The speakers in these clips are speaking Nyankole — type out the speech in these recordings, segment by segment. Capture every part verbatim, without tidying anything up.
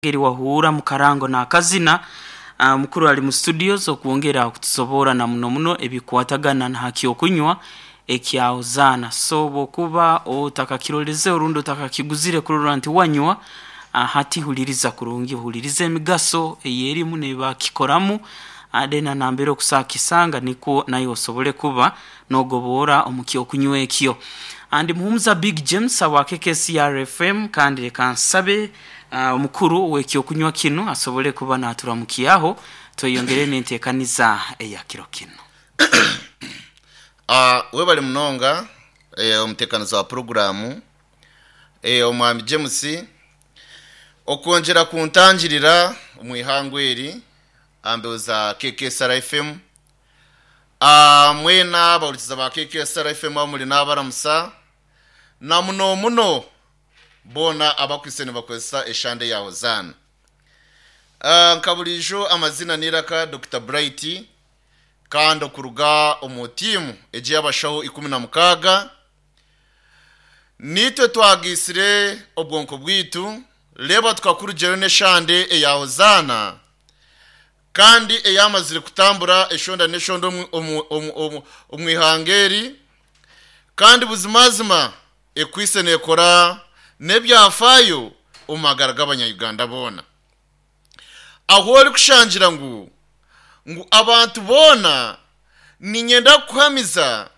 Ngeri wahuura mukarango n'akazina ah, mukuru ali mu studios okwongera kutusoboora na muno muno ebikwatagana na hakyokunywa ekyahozaana. So bwokuba otakakiroleze orundi otakakiguzire kurora nti wanywa, ah, hati huliriza kurungi, huliriza emigaso eyerimu nebakikoramu, ah, then nambere okusakisanga nikwo naye osobole kuba nogoboora omu kyokunywa ekyo. Andi Muhumuza Big James wa K K C R F M, kandi leka nsabe ah, omukuru w'ekyokunywa kinu asobole kuba naturamukiaho tweyongere n'enteekaniza eya kiro kinu. Ah, webale munonga eh, omuteekanizi wa puroguramu eh, omwami James okwongyera kuntangirira omu ihangwe eri ambeho za K K S R F M. Ah, mwena abahurikiza ba K K S R F M aho muri n'abaramusa na muno muno boona abakwise nibakozesa eshande ya Hozaana. Ah, nka burijo amazina niraka Doctor Bright, kandi okuruga omu tiimu egi y'abashaho ikumi na mukaaga, nitwe twagisire obwonko bwitu, reeba tukakurugyeyo n'eshande eya Hozaana, kandi eyamazire kutambura eshonda n'eshonda omu- omu- omu- omu- omu ihanga eri, kandi buzimazima ekwise nekora n'ebyafaayo omu magara g'abanyayuganda boona, aho ori kushangira ngu ngu abantu boona ninyenda kukuhamiza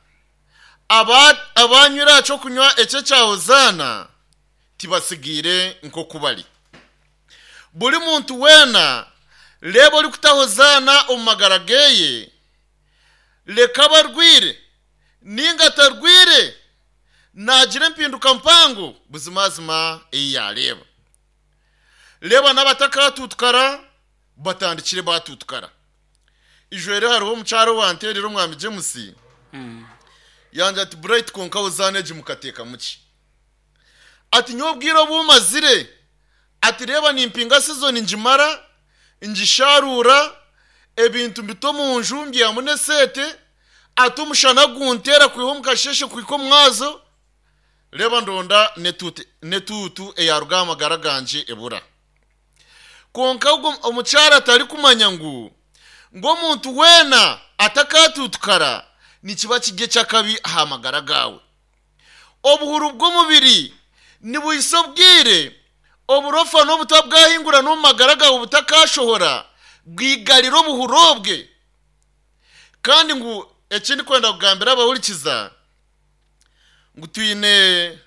aba abanywire aha kyokunywa ekyo ekya Hozaana tibasigiire nk'oku bari. Buri muntu weena reeba ori kuta Hozaana omu magara geye, leka abarwire ninga atarwire, nagira empinduka mpango buzimazima eyi yareeba. Reeba n'abatakatutukara batandikire batutukara. Ijwere hariho omukyaro wanterera, omwami James, Mm. yanje ati, "Bright, konka Hozaana egi mukateeka muki?" Ati, "Nyowe obwire obumazire," ati, "reeba nimpinga season ngimara ngisharura ebintu mbita omu nju mbyamu n'eseete," ati, "omushana gunteera kwiha omu kasheshe kuhika omwazo, reeba ndonda netuutu netuutu eyaruga aha magara gangye ebura." Konka ogwo omukyara atarikumanya ngu ngu omuntu weena atakatutukara nikiba kiri eky'akabi aha magara gaawe. Obuhuru bw'omubiri nibuhisa obwire oburofa n'obutwa bwahingura n'omu magara gawe butakashohora bwigarira obuhuru obwe. Kandi ngu ekindi kwenda kugambira abahurikiza ngu twine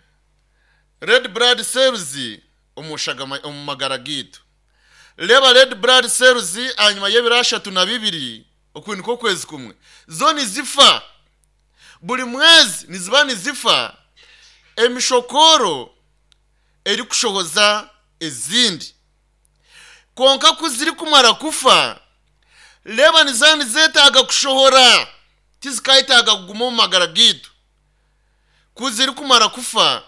red blood cells omu shagama omu magara gaitu. Reeba red blood cells ahanyuma y'ebiro ashatu na bibiri, oku niko okwezi kumwe, zo nizifa. Buri mwezi niziba nizifa emishokoro erikushohoza ezindi. Konka ku zirikumara kufa, reeba niziba nizeetaaga kushohora, tizikayetaaga kuguma omu magara gaitu. Ku zirikumara kufa,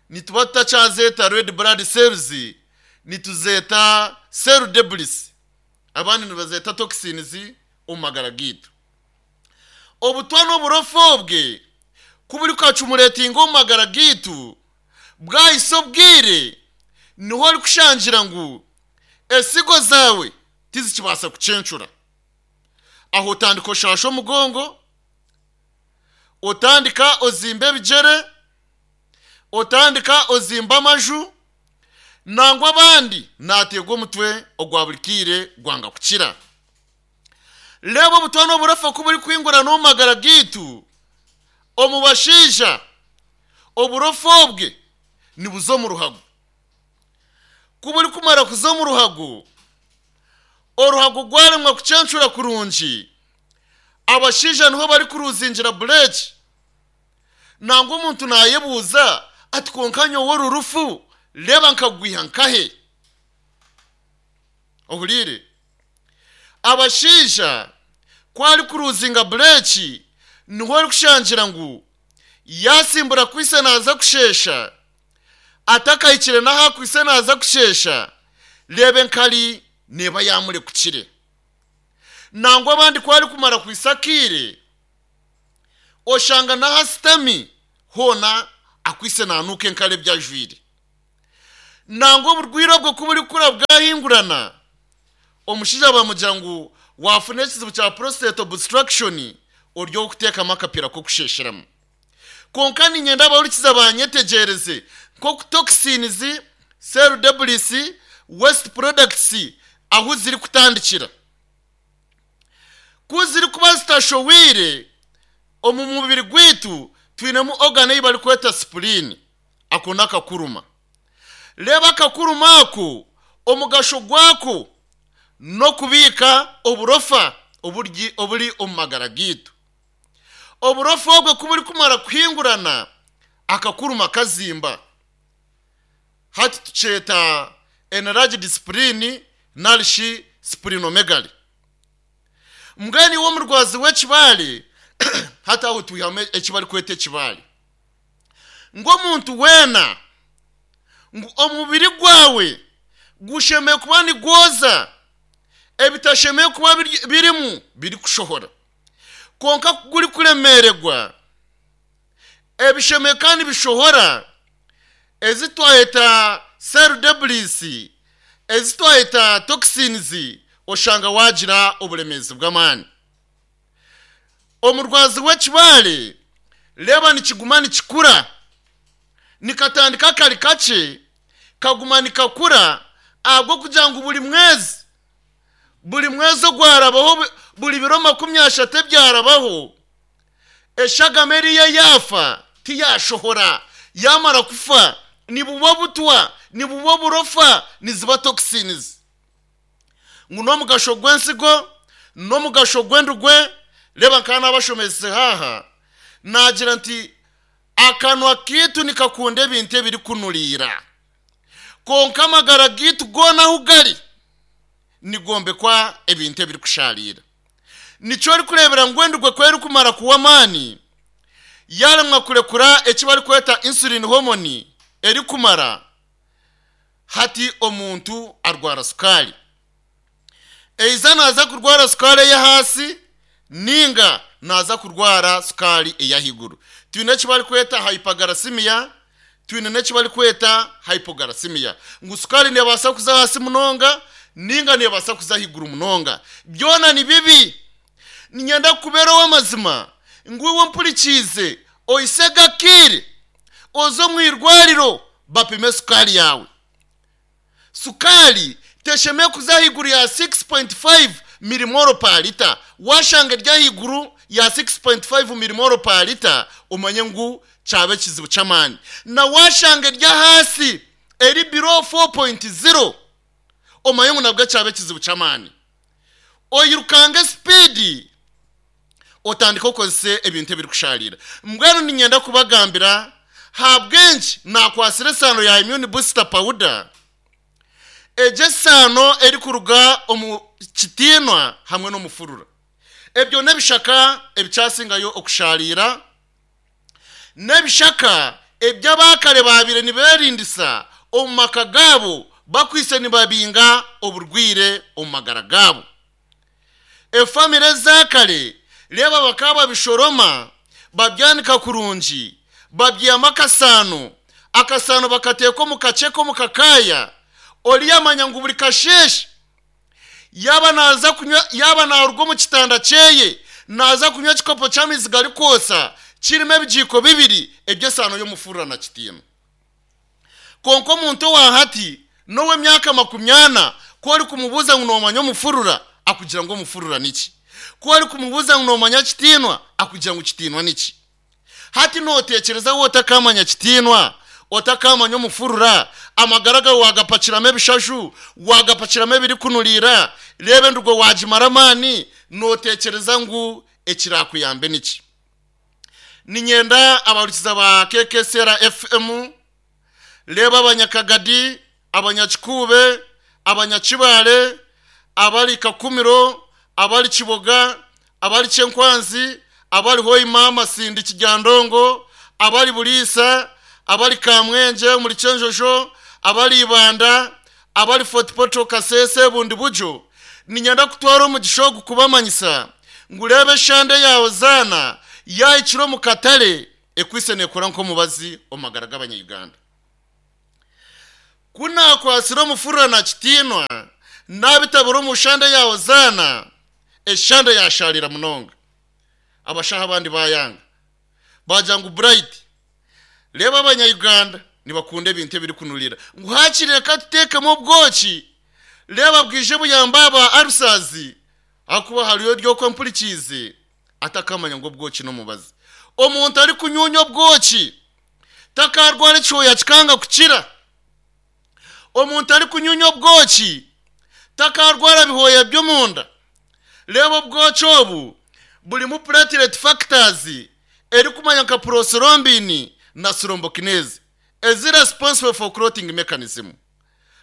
nituba tutakyazeeta red blood cells, nituzeeta cell debris, abandi nibazeeta toxins omu magara gaitu. Obutwa n'oburofa obwe ku buri kukacumuretinga omu magara gaitu bwahisa obwire, niho ori kushangira ngu esigo zaawe tizikibaasa kucencura. Aho otandika oshasha omugongo, otandika ozimba ebigyere, otandika ozimba amaju, nangwa abandi nateegwa omutwe ogwa buri kiire gwanga kukira. Reeba obutwa n'oburofa ku buri kwingura n'omu magara gaitu, omu bashaija oburofa obwe nibuza omu ruhago. Ku buri kumara kuza omu ruhago, oruhago gwaremwa kucencura kurungi, abashaija niho bari kuruzingira bureki. Nangwa omuntu nayebuuza ati, "Konka nyowe oru rufu reeba nkagwiha nkahe?" Ohuriire, abashaija ku ari kuruzinga bureki, niho ori kushangira ngu yasimbura kwise naza kushesha, atakahikire n'aha kwise naza kushesha, reeba enkari neeba yamurekukire. Nangwa abandi ku ari kumara kwisa akiire, oshanga n'aha sitami hoona akwise nanuuka enkari ebyajwire. Nangwa oburwire obwo kuburikura bwahingurana, omushaija bamugira ngu wafuna ekizibu kya prostate obstruction, ori okuteekamu akapiira k'okushesheramu. Konka ninyenda abahurikiza banyetegereze nk'oku toxins, cell debris, waste products ahu ziri kutandikira. Ku ziri kuba zitashoweire omu mubiri gwaitu, twinemu organ ei barikweta spleen. Ako n'akakuruma. Reeba, akakuruma ako omugasho gwako n'okubiika oburofa oburi oburi omu magara gaitu. Oburofa obwo ku burikumara kuhingurana, akakuruma kazimba. Hati tukyeta enlarged spleen narishi splenomegaly. Mbwenu iwe omurwazi w'ekibaare, hati aho twihamu eki barikweta ekibaare, ngu omuntu weena ngu omubiri gwawe gushemeye kuba nigwoza ebitashemeye kuba biri- birimu birikushohora. Konka guri kuremererwa ebishemeye kandi bishohora, ezi twayeta cell debris, ezi twayeta toxins, oshanga wagira oburemeezi bw'amaani. Omurwazi w'ekibaare, reeba, nikiguma nikikura, nikatandika kari kakye, kaguma nikakura, ahabw'okugira ngu buri mwezi, buri mwezi ogwarabaho, bu- buri biro makumi ashatu ebyarabaho, eshagama eriyo yaafa tiyashohora. Yamara kufa, nibuba butwa, nibuba burofa, niziba toxins. Ngu n'omugasho gw'ensigo n'omugasho gw'endugwe. Reba, nkaba nabashomese haha, nagira nti akanwa kitu nikakunda ebintu ebirikunuriira, konka amagara gitu goona ahu gari nigombekwa ebintu ebirikusharira. Nikyo orikureebera ngu endugwe ku erikumara kuwa amaani, yaremwa kurekura eki barikweta insulin hormone erikumara, hati omuntu arwara sukaari. Eiza naza kurwara sukaari ey'ahaasi ninga naza kurwara sukaari ey'ahaiguru. Twine eki barikweta hyperglycemia, twine n'eki barikweta hypoglycemia, ngu sukaari nebaasa kuza hasi munonga ninga nebaasa kuza ahaiguru munonga. Byona ni bibi. Ninyenda kukubeera ow'amazima ngu iwe mpurikiize, oise gakire oze omu irwariro bapime sukaari yawe. Sukaari teshemeye kuza ahaiguru ya six point five millimole per litre. Washanga eri ahaiguru ya six point five millimole per litre, omanye ngu kyaba ekizibu ky'amaani. Na washanga eri ahaasi, eri below four point zero, omanye ngu nabwo kyaba ekizibu ky'amaani. Oyirukange speed, otandika okozese ebintu ebirikusharira. Mbwenu ninyenda kubagambira habwenki nakwasire esaano ya immune booster powder. Egyo esaano erikuruga omu kitiinwa hamwe n'omufurura, ebyo n'ebishaka ebikyasingayo okusharira, n'ebishaka eby'abakare babire niberindisa omu maka gaabo, bakwise nibabinga oburwire omu magara gaabo. Efamire ezakare, reeba, bakaba babishoroma, babyanika kurungi, babyihamu akasaano. Akasaano bakateeka omu kakyeka, omu kakaya. Oriyamanya ngu buri kasheeshe yaba naza kunywa, yaba naruga omu kitanda kyeye, naza kunywa ekikopo ky'amaizi garikwosa kirimo ebijiiko bibiri eby'esaano y'omufurura na kitiino. Konka omuntu owa hati n'ow'emyaka makumi ana, ku ori kumubuuza ngu noomanya omufurura, akugira ngu omufurura niki? Ku ori kumubuuza ngu noomanya kitiinwa, akugira ngu kitiinwa niki? Hati nootekereza we otakamanya kitiinwa, otakamanya omufurura, amagara gawe wagapakiramu ebishaju, wagapakiramu ebirikunuriira, reeba endugo wagimara amaani, nootekereza ngu ekirakuyambe niki? Ninyenda abahurikiza ba K K S R F M, reeba, abanyakagadi, abanyakikuube, abanyakibare, abari Kakumiro, abari Kiboga, abari Kyenkwanzi, abari Hoima, Masindi, Kiryandongo, abari Buriisa, abari Kamwenge muri Kyenjojo, abari Ibanda, abari Fort Portal, Kasese, bundi bujo, ninyenda kutwara omugisha ogu kubamanyisa ngu reeba, eshande yawe zaana yahikire omu katare, ekwise nekora nk'omubazi omu magara g'abanyayuganda. Kunakwasira omufurira na kitiinwa nabitabura omushande ya Hozaana, eshande yasharira munonga. Abashaho abandi bayanga bagira ngu Bright, reba abanyayuganda nibakunda ebintu ebirikunurira, ngu hakiri reka tuteekemu obwoki, reba bwije buyamba aba arusazi, ahakuba hariyo ryokwe mpurikiize atakamanya ngu obwoki n'omubazi. Omuntu arikunyunya obwoki takarwara ekihooya kikanga kukira. Omuntu arikunyunya obwoki takarwara bihooya by'omunda. Reba obwoki obu burimu platelet factors erikumanya nka prothrombin na thrombokinase ezi responsible for clotting mechanism.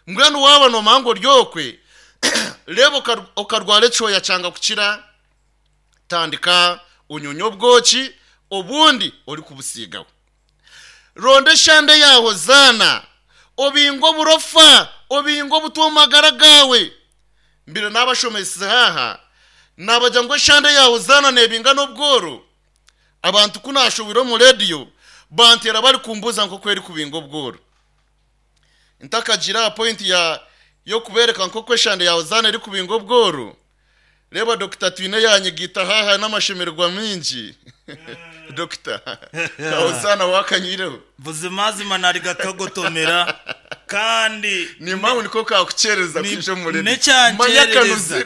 Mbwenu waaba noomanya ngu ori okwe, reba okarwara ekihooya kyanga kukira, tandika onyunye obwoki obundi orikubusiigaho. Ronda eshande ya Hozaana, obinga oburofa, obinga obutwa omu magara gaawe. Mbire n'abashomesize haha nabagira ngu eshande ya Hozaana nebinga n'obworo. Abantu ku nashobire omu rediyo bantera bari kumbuza nk'oku eri kubinga obworo. Ntakagira point ya yo kubereka nk'oku eshande ya Hozaana eri kubinga obworo. Reba Doctor Twine yanyigita haha n'amashemererwa mingi. Doctor, Hozaana wakanyireho. Buzimazima nari gakagotomera kandi ni mpamvu niko kakucereza kwije muri necyancerereza.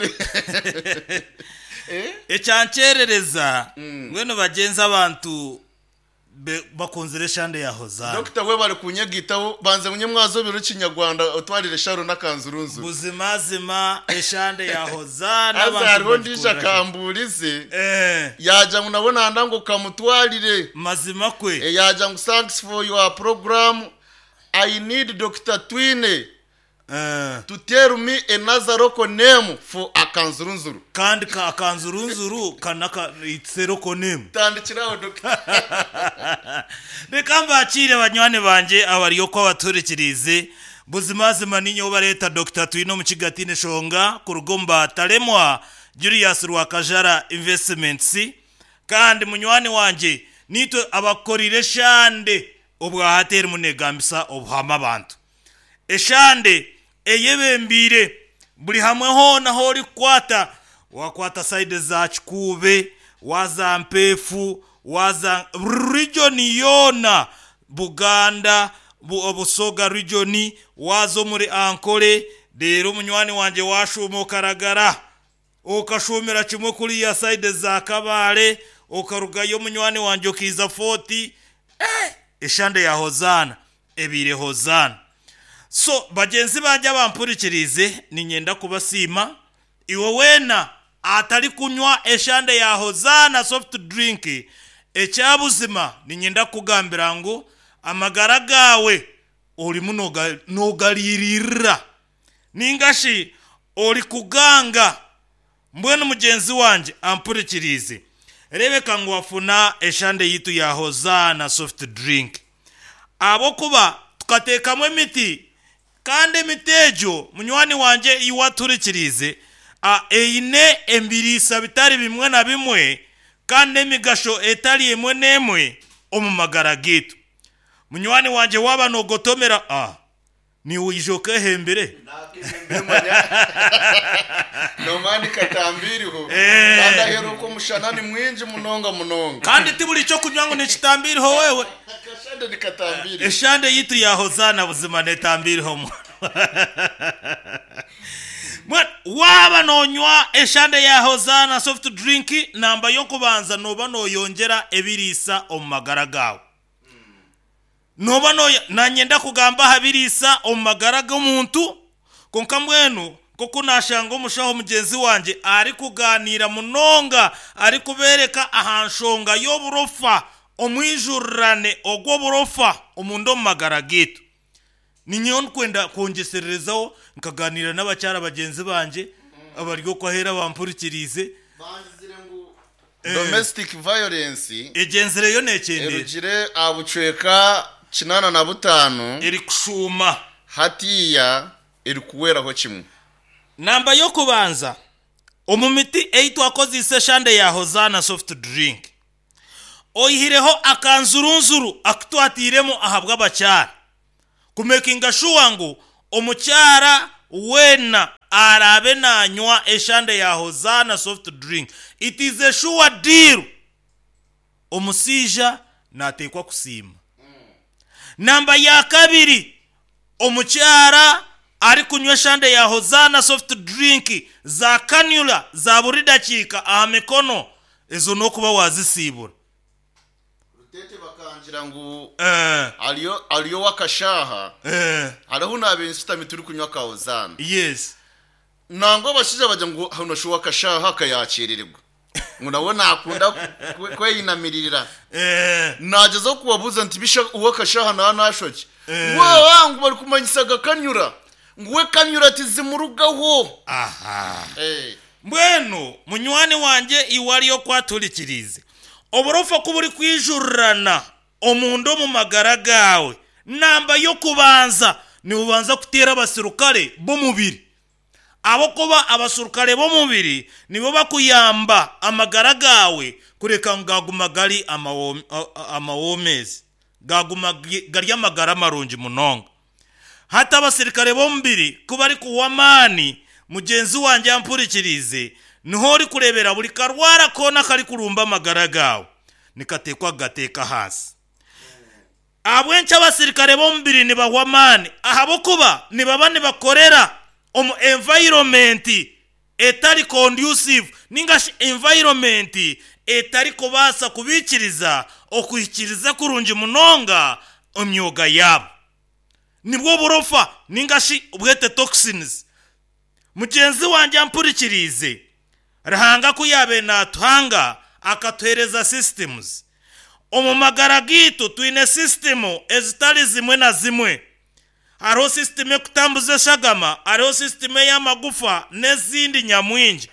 Ecyancerereza ngweno bagenza abantu bakunzire eshande ya Hozaana. Doctor we bari kunyegitaho banze munye mwazo biro kinyarwanda utwarire sharo n'akanzurunzu. Buzimazima eshande ya Hozaana abantu hariho ndija kamburize eh yaja ngo nabona ndango kamutwarire mazima kwe e, yaja ngo thanks for your program, I need Doctor Twine uh, to tell me another local name for akanzurunzuru. Kandi ka akanzurunzuru kanaka it's a local name. Tandikiraho Doctor. Reka mbakire banywani banje abariyo ko abaturekirize. Buzimazima ninyo bareta Doctor Twine mu kigatine shonga ku rugomba Talemwa Julius Rwakajara Investments. Kandi munywani wanje nitwe abakorire shande obwahateri munegambisa obuhama abantu. Eshande eyebembire buri hamwe hona hori kwata wakwata side za Kikube, waza Mpefu, waza region yona Buganda, bu, Busoga region, wazo muri Ankole. Rero munywani wanje washuma okaragara okashumira kimwe kuri ya side za Kabale, okarugayo munywani wanje okiza forty. Eh, eshande ya Hozaana ebire Hozaana. So bagenzi banje bampurikirize ninyenda kubasima. Iwe wena atari kunywa eshande ya Hozaana soft drink ekyabuzima, ninyenda kugambira ngu amagara gawe ori muno nogalirira ningashi ori kuganga. Mbwenu mugenzi wanje ampurikirize, rebeka ngu wafuna eshande yitu ya Hozaana soft drink, abokuba tukateekamu emiti kandi emiti egyo munywani wanje iwaturikirize eine embiriisa bitari bimwe na bimwe kandi emigasho etari emwe n'emwe omu magara gitu. Munywani wanje waba nogotomera ah ni uyijoke hembere no mani katambiriho kandi aheruko mushana ni mwinji munonga munonga kandi tiburi cyo kunywa ngo nikitambiriho wewe akashande nikatambiri eshande yitu ya Hozaana buzima netambiriho mwa waba nonywa eshande ya Hozaana soft drink namba yo kubanza noba noyongera ebirisa omu magara gawe. Noba no nanyenda kugamba habirisa omu magara g'omuntu konka mbwenu koko nashanga omushaho mugenzi wanje ari kuganira munonga ari kubereka ahanshonga y'oburofa omwijurane ogw'oburofa omundu omu magara gitu. Ninyewe nkwenda kwongesererezaho nkaganira n'abakyara bagenzi banje abaryo kwahera bampurikirize domestic violence egenzereyo nekendere erugire abucweka kinana na butanu eri kushuma hatiya eri kuweraho kimwe. Namba yo kubanza omu miti eitwakozise eshande ya Hozaana soft drink oyihireho akanzurunzuru akutwatiremu ahabw'abakyara kumekinga sure ngu Omukyara wena arabe nanywa eshande ya Hozana soft drink, it is a sure deal. Omusija natekwa kusiima. Namba ya kabiri, omukyara ari kunywa eshande ya Hozana soft drink za kanula za buri dakiika aha mikono ezo nokuba wazisiibura. Rutete bakangira ngu Eh, ariyo ariyo wakashaha eh, hariho n'abensitami turi kunywa ka Hozana. Yes. Nangwa abashaija bagira ngu hano shu wakashaha akayakirirwa ngu nawe nakunda kwe- kweyinamirira. Eh, Nagezaho kubabuza nti bisha uwakashaha na nashoki Eh. wa ngu bari kumanyisaga kanyura ngu we kanyura tizimurugaho. Aha. Eh. Mbwenu munywani wanje iwe ariyo kwaturikirize oburofa kuba uri kwijururana omunda omu magara gawe, namba yo kubanza nibubanza kuteera abasirukare b'omubiri, abo kuba abasirukare b'omubiri nibo bakuyamba amagara gawe kureka ngu gaguma gari amawo- a- a- amawomezi, gaguma gi- gari amagara marungi munonga. Hati abasirikare b'omubiri kuba ari kuwa amaani, mugenzi wanjye yampurikirize, niho ori kurebera buri karwara koona kari kurumba amagara gawe nikatekwa kugateeka hasi. Ahabw'enki abasirikare b'omubiri nibahwa amaani? Ahabw'okuba nibaba nibakorera omu environment etari conducive, ningashi environment etari kubaasa kubikiriza okuhikiriza kurungi munonga emyoga yaabo. Nibwo burofa ningashi bwete toxins. Mugenzi wanjye ampurikirize, Ruhanga ku yabe natuhanga akatuhereza systems omu magara gitu. Twine system ezitari zimwe na zimwe. Hariho system ekutambuza eshagama, hariho system ey'amagufa n'ezindi nyamwingi.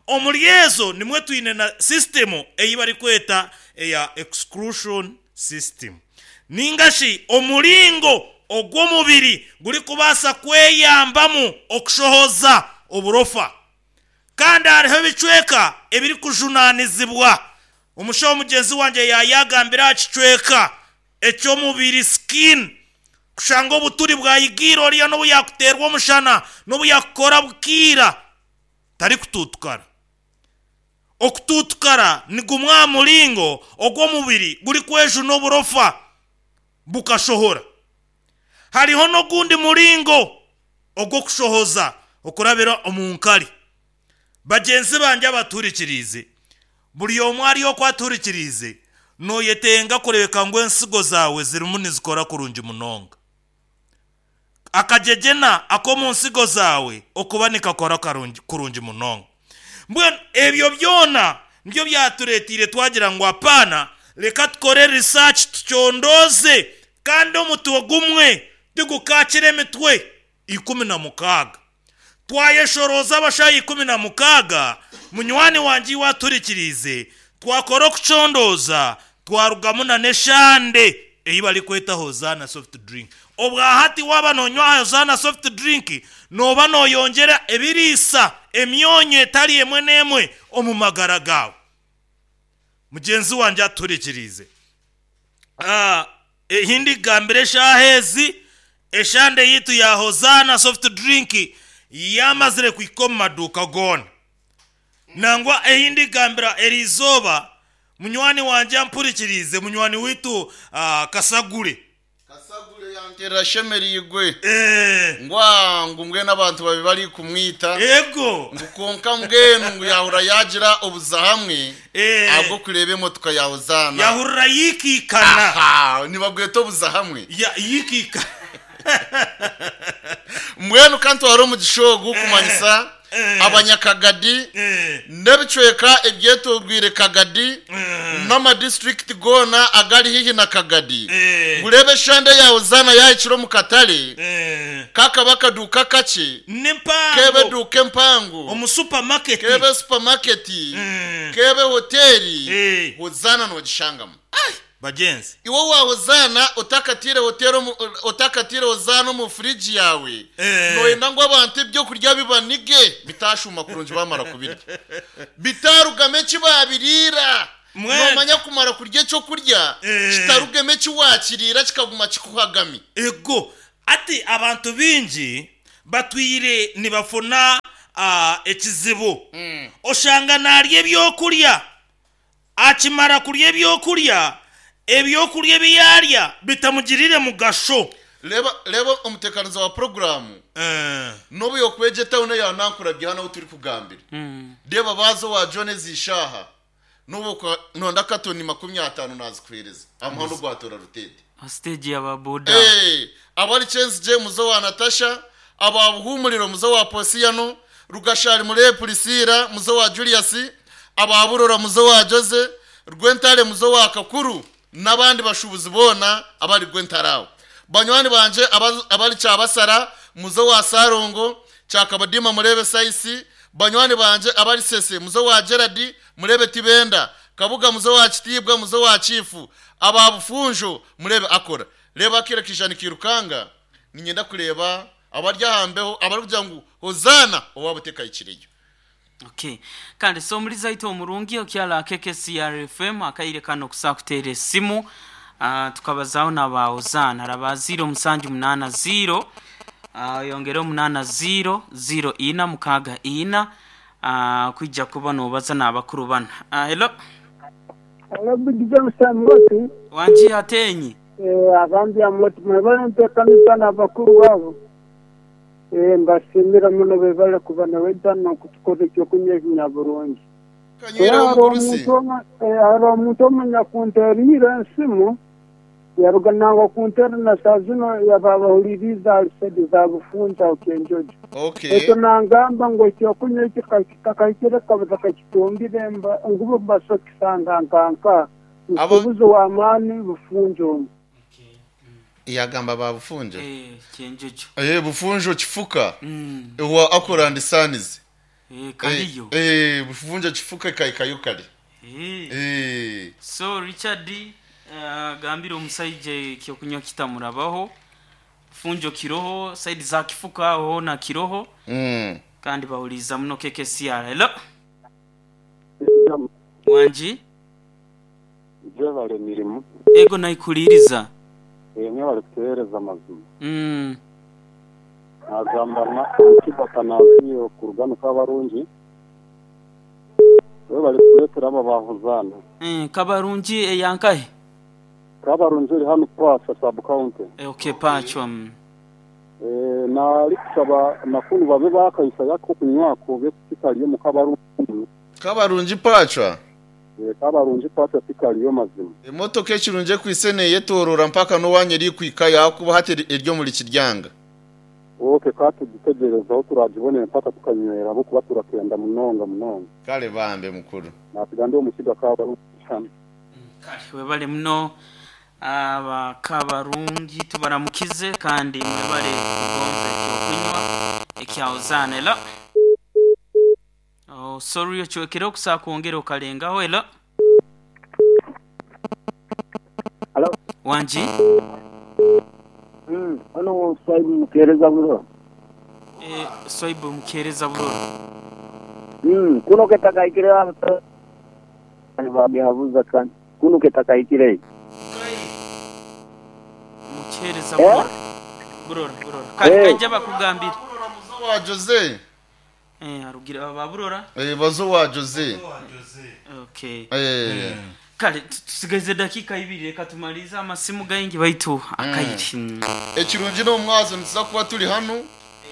Omuri ezo nimwe twine na system eyi barikweta eya exclusion system, ningashi omuringo ogw'omubiri guri kubaasa kweyambamu okushohoza oburofa. Kandi hariho ebicweka ebiri kujunanizibwa. Omushaho mugenzi wanje yayagambira aha kicweka eky'omubiri, skin, kushanga obuturi bwayigiire oriya n'obu yakuteerwa omushana n'obu yakukora bukiira tari kututukara. Okututukara ni gumwe aha muringo ogw'omubiri guri kwejuna oburofa bukashohora. Hariho n'ogundi muringo ogw'okushohoza okurabira omu nkari. Bagenzi banjye abaturikirize, buri omwe ariyo okwaturikirize, noyetenga kurebeka ngu ensigo zawe zirimu nizikora kurungi munonga, akajejena ak'omu nsigo zawe okuba nikakora karungi- kurungi munonga. Mbwenu ebyo byona nibyo byatureetiire twagira ngu apaana, reka tukore research tucondoze, kandi omutwe gumwe tigukakira emitwe ikumi na mukaaga. Twayeshoroza abashaho ikumi na mukaaga, munywani wanje iwe aturikirize, twakora okucondoza twarugamu na n'eshande eyi barikweta Hozana soft drink. Obwahati waba nonywa Hozana soft drink noba noyongera ebiriisa, emyonyo etari emwe n'emwe omu magara gawe. Mugenzi wanje aturikirize, Ah, ehindi gambire eshaha ezi eshande yitu ya Hozana soft drink yamazire kwika omu maduuka goona. Nangwa ehindi gambira eriizooba, munywani wanje ampurikirize, munywani witu ah, Kasagure. Kasagure yanterera shemerigwe. Eh, ngwa ngu mbwenu abantu babi bari kumwita ego ngu konka mbwenu ngu yahura yagira obuza hamwe Eh. ahubwo kureba emotoka ya Hozana. Yahurira yikiikana. Aha, nibabweta obuza hamwe. Ya- yikiika. Mbwenu kandi wari omugisha ogu kumanyisa Eh. abanyakagadi Eh, n'ebicweka ebyetorwire Kagadi n'amadistrict gona agari hihi na Kagadi, Eh. ngurebe eshande ya Hozana yahikire omu katale, eh. kakaba akaduuka kakye, n'empango, kebe duuka empango, omu supermarket, kebe supermarket, Mm. kebe hoteli, Eh. Hozana nogishangamu. Bagenzi, Iwe wa Hozana utakatire hoteli omu- utakatire Hozana omu furiji yawe, Eh. noyenda ngu abantu ebyokurya bibanige bitashuma kurungi bamara kubirya bitarugame eki babiriira. Mwene. Nomanya kumara kurya ekyokurya Eh. kitarugeme eki wakiriira kikaguma kikuhagami. Ego. Ati abantu bingi batwire nibafuna ah, ekizibu. Oshanga narya ebyokurya, akimara kurya ebyokurya, ebyokurya ebi yarya bitamugirire mugasho. Reba reba omutekanizo wa programu Eh, n'obu yokwegye tawuni ya nankurabye hano aho turi kugambira. Mm. Reba bazo wa John zishaha n'ubu kwa- nonda katoni makumi atanu nazikuhereza amuhando gwatora rutete. Stage y'ababoda. Eh, abari Chance J muzo wa Natasha, ababuhumuriro muzo wa Posiano, Rugashari muri Priscilla muzo wa Julius, ababurora muzo wa Jose, Rwentare muzo wa Kakuru n'abandi bashubuzi bona abari Rwentarawo. Banywani banje abaz- abari Cyabasara muzo wa Sarongo, Cyakabadima murebe Saisi, banywani banje abari Sese muzo wa Gerard murebe Tibenda, Kabuga muzo wa Kitibwa muzo wa Chifu, ababufunjo murebe akora. Reba akira kijana kirukanga ninyenda kureba abarya hambeho abari kugira ngo hozana owabuteka ikiriyo. Okay. Kandi so muri zaito omurungi okyala K K C R F M akaire kano kusakuteera esimu, uh, tukabazaho naba Ozana raba zero seven eight zero uh, yongere omunana zero zero ina mukaga ina uh, kwijja kuba nobaza n'abakuru bana. uh, hello Alabugiza musamoti. Wanji atenyi. Abandi amoti mwebale ntekanisa n'abakuru wabo. Eh, mbashimira muno bebale kuba nawedana kutukora ekyokunywa ekinyaburungi. Kanywera Hari omugurusi. omuntu omwe- eh, hari omuntu omenya kunteriire ensimu yaruga nangwa kuntera na saa zino yababahuliriza alisedi za bufunza okenjojo. Okay. Ekyo nangamba ngu ekyokunywa eki kakahikire kabuza kakitungire mba ngubo mbaso kisanga nkanka Abo- nsubuzi w'amaani bufunja omu. Yagamba babufunjo. Eh, kyenjojo. Eh, bufunjo kifuka mm. wa akora and sons. Eh, kaliyo. Eh, eh, bufunjo kifuka kaikayo kale. Eh. Eh. So Richard uh, gambira omusaija ekyokunywa kitamurabaho funjo kiroho side za kifuka aho na kiroho. Mm. Kandi bawuliza muno K K C R. Hello, wanji. Jebale emirimu. Ego naikuliriza. Emwe bari kutuhereza amazima. mm. Nagamba kibakanaziyo ku rugano kabarungi we bari kuretera aba bahuzana. Mm, kabarungi eyankahe? Kabarungi eri hano kwasa sub county. Eh, okay, pachwa mm. Eh, nari kusaba nakunu babe bakayisa yako kunywako betikaliyo mu kabarungi. Kabarungi pachwa. Eh, kabarungi kwasa tikaliyo mazima. Emotoka ekirungi ekwisene yetorora mpaka n'owanyeri kwika yakuba hati eryo muri kiryanga. Okay, katudutegerezaho turagibonera mpaka tukanywera abo kuba turakenda munonga munonga. Kale bambe mukuru. Nasiga ndi omukiga kabarungi cyane. Kale webale muno aba kabarungi, tubaramukize kandi mwebale kugonza ekyokunywa ekyaozana. Hello. Oh, sorry, okyokere okusaa kwongera okalengaho. Hello. Hello. Wanji. Mm, hano Swaibu mukereza bulo. Eh, Swaibu mukereza buroro. Mm, kuno ketakaikire babyabuza kandi kuno ketakaikire. Mukereza Eh? buroro buroro buroro kale. Eh. Kajja bakugambira. Muzo wa Jose. Eh, arugira aba burora. Eh, bazo wa Jose. Okay. Eh. Kale tu- tusigaze dakika ibiri, reka tumalize amasimu gaingi baitu akayiri. Mm. Ekirungi n'omwazo nituza kuba turi hano.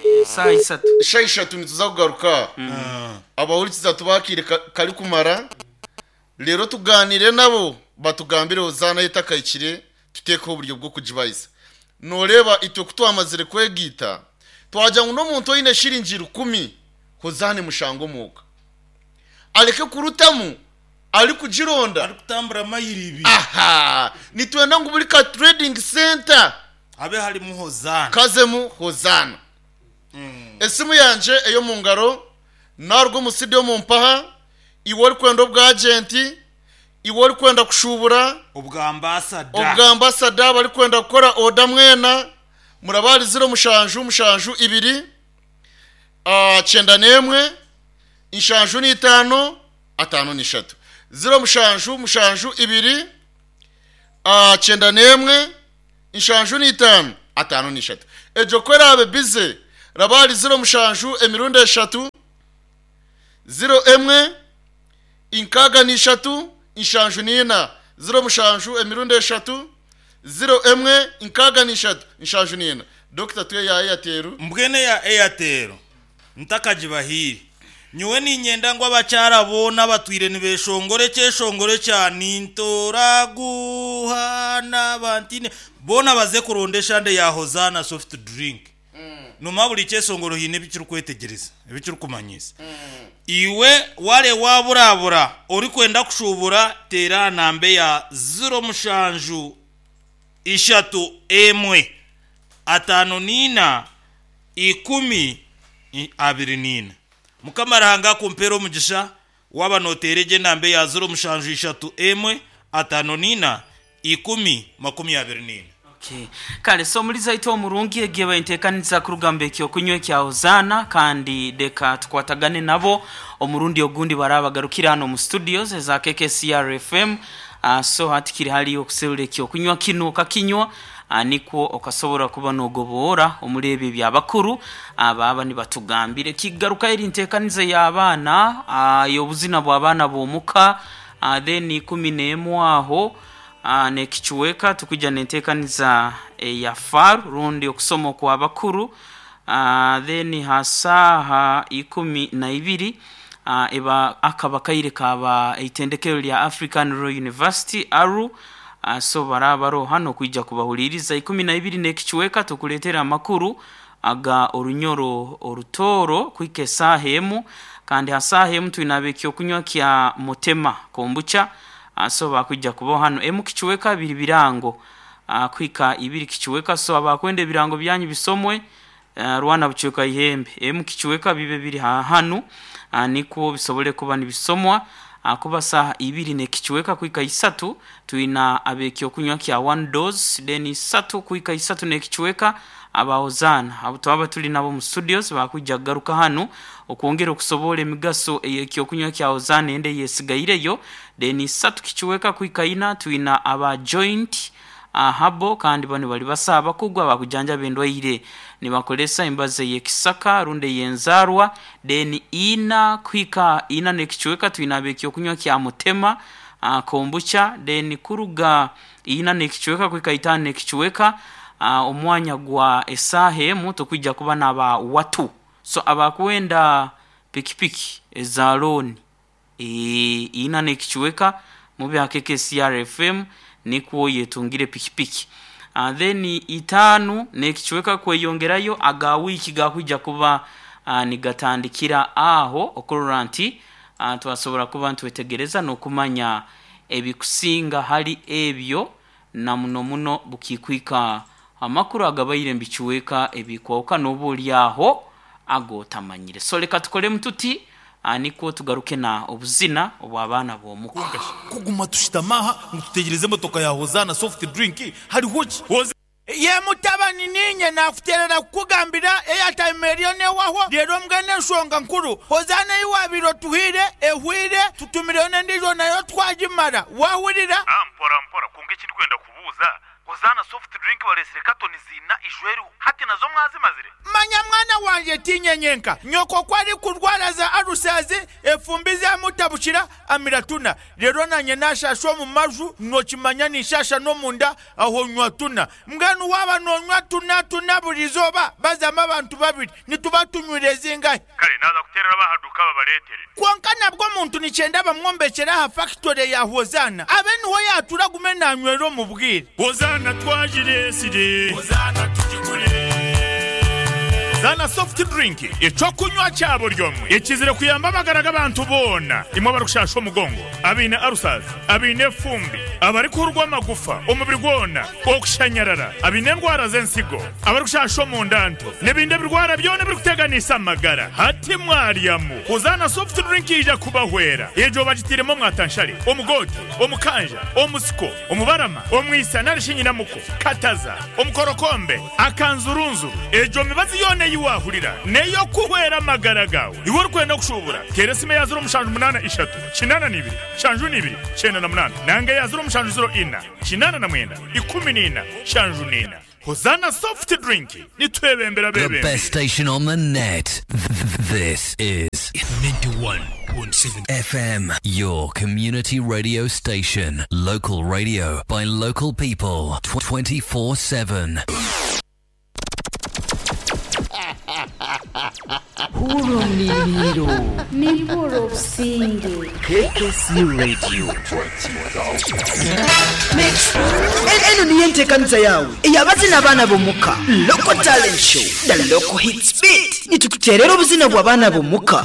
Eh, saa isatu. Isha ishatu nituza kugaruka. Abahurikiza tubakire ka- kari kumara rero tuganire nabo batugambire hozana yetakayikire tutekeho uburyo bwo kugibayisa. Noreba itwe kutwamazire kwegita twagira ngo n'omuntu oine shiringi rukumi hozane mushango omuka areke kurutamu ari kugironda. Ari kutambura mayiri ibiri. Aha nitwenda ngu buri ka trading center habe harimu hozana. Kazemu hozana. Esimu yanje eyo mu ngaro narwo omusidi yo mu mpaha iwe ori kwenda obwagenti iwe ori kwenda kushubura. Ubwa ambasada. Obwa ambasada bari kwenda kukora oda mwena murabari ziro mushanju mushanju ibiri ah, cyenda n'emwe inshanju n'itanu atanu n'ishatu ziro mushanju mushanju ibiri ah, cyenda n'emwe inshanju n'itanu. ataano n'ishatu. Egyo ku eraabe bize raba hari ziro mushanju emirundi eshatu ziro emwe inkaaga n'ishatu inshanju n'ina. Ziro mushanju emirundi eshatu ziro emwe inkaaga n'ishatu inshanju n'ina. Dokita tuye ya Airtel. Mbwene ya Airtel ntakagibahire nyowe ninyenda ngu abakyara boona batwire nibeshongora ekyeshongoro kya nintoraguhana bantine boona baze kuronda eshande ya Hozana soft drink. Numa buri kyeshongoro hiine ebikirikwetegyereza ebikirikumanyisa. Iwe ware waburabura orikwenda kushubura tera nambe ya ziro mushanju ishatu emwe atano nina ikumi i- abiri nina. Mukama Ruhanga akumpera omugisha waba noteera egyo enamba ya ziro mushanju ishatu emwe atano nina ikumi makumi abiri nina. Okay. Kale so muliza ito omurungi egiye bainteekaniza kurugamba ekyokunywa ekya Hozana, kandi deka tukwatagane nabo omurundi ogundi barabagarukira hano mu studios eza K K C R F M. Uh, so hatikiri hali okuserura ekyokunywa kino okakinywa, uh, nikwo okasobora kuba nogoboora omuri ebyo byabakuru ababa nibatugambire. Kigaruka eri nteekaniza y'abaana, uh, y'obuzina bw'abaana b'omuka, uh, then ikumi n'emwe aho Uh, nekichweka tukuja nenteekaniza ya faru rundi okusoma kwa bakuru, uh, then hasaha ikumi na ibiri uh, eba akaba kaire kaba itendekero lya African Royal University Aru. Uh, so barabaro hano kuija kubahuliriza ikumi na ibiri nekichweka tukuletera amakuru aga orunyoro orutoro kwike sahemu, kandi hasahemu twinabekyo kunywa kya mutema kombucha. So bakujja kuba hano emu kichweka biri birango uh, kwika ibiri kichweka. So abakwenda ebirango byanyu bisomwe uh, rwana buchweka ihembe emu kichweka bibe biri hanu uh, niko bisobole kuba nibisomwa uh, kuba saha ibiri ne kichweka kwika isatu tuina abekyo kunywa kya one dose, then isatu kwika isatu ne kichweka abahozana abo twaba tuli nabo mu studios bakujja garuka hano okwongera okusobola emigaso eyekyo kunywa kya Hozana ende yesigaireyo. Then isatu kichweka kwika ina tuina aba joint ahabo, kandi bano bali basaba kugwa bakujanja bendwaire nibakolesa imbaze yekisaka runde yenzarwa. Then ina kwika ina nekichweka tuina abekyo kunywa kya mutema uh, kombucha. Then kuruga ina nekichweka kwika itano nekichweka uh, omwanya gwa esahe tukwijja kuba naba watu. So abakwenda pikipiki eza loan e, ina nekichweka mube K K C R F M nikwo yetungire pikipiki. Uh, then itanu nekichweka kweyongerayo aga wiki gakwijja kuba uh, nigatandikira aho okurora nti uh, twasobora kuba ntwetegereza n'okumanya ebikusinga hali ebyo na muno muno bukikwika amakuru agabaire mbichweka ebikwauka n'obuli aho agotamanyire. So leka tukole mututi niko tugaruke na obuzina obw'abaana b'omuka. Kuguma tushitamaha ngututegereze motoka ya Hozana soft drink hariho ki ye mutabani ninye nakuterera kukugambira airtime eriyo newaho rero mbwene enshonga nkuru Hozana iwabiro tuhire ehwire tutumireyo n'endiijo nayo twagimara wahurira. Mpora mpora kunga ekindi kwenda kubuuza Hozana soft drink baresire katoni zina ijweru hati nazo mwazimazire. Manya mwana wanje tinyenyenka nyoko kwari kurwara za arusazi efumbi zamutabukira amiratuna rero nanye nashasha omu maju nokimanya nishasha n'omunda aho nywa tuna mbwenu waba nonywa tuna tuna buri izooba bazama abantu babiri nituba tunywire zingahe. Kare naza kuterera bahaduka babaretere. Konka nabwo omuntu nikyenda bamwombekera aha factory ya Hozana abe niho yatura gume nanywera omu bwire. Hozana twajiresire Hozana tugigure Hozana soft drink ekyokunywa kya buri omwe ekizire kuyamba amagara g'abantu boona imwe abarikushasha omugongo abaine arusazi abaine efumbi abarikuhurwa amagufa omubiri gwona okushanyarara abaine endwara z'ensigo abarikushasha omundanto n'ebindi ebirwara byona ebirikuteganisa amagara hati mwaryamu. Hozana soft drink ija kubahwera egyo bagitiremu omwatanshare omugote omukanja omusiko omubarama omwisa narishinyinamuko kataza omukorokombe akanzurunzuru egyo mibazi yona yiwahurira neyo kuhwera amagara gawe. Iwe orikwenda kushubura tera esime ya ziro mushanju munana ishatu kinana n'ibiri shanju n'ibiri kyenda na munana nange ya ziro mushanju ziro ina kinana na mwenda ikumi n'ina shanju n'ina. Hozana soft drink nitwebembera The bebembe. best station on the net. This is ninety-one point seven F M, your community radio station. Local radio by local people twenty-four seven. Hurumliro. Nibwo businge. K K C Radio. Eno niyo enteekaniza yawe ey'abazina abaana b'omuka Local Talent Show, the local hits beat. Nitukuteerera obuzina bw'abaana b'omuka.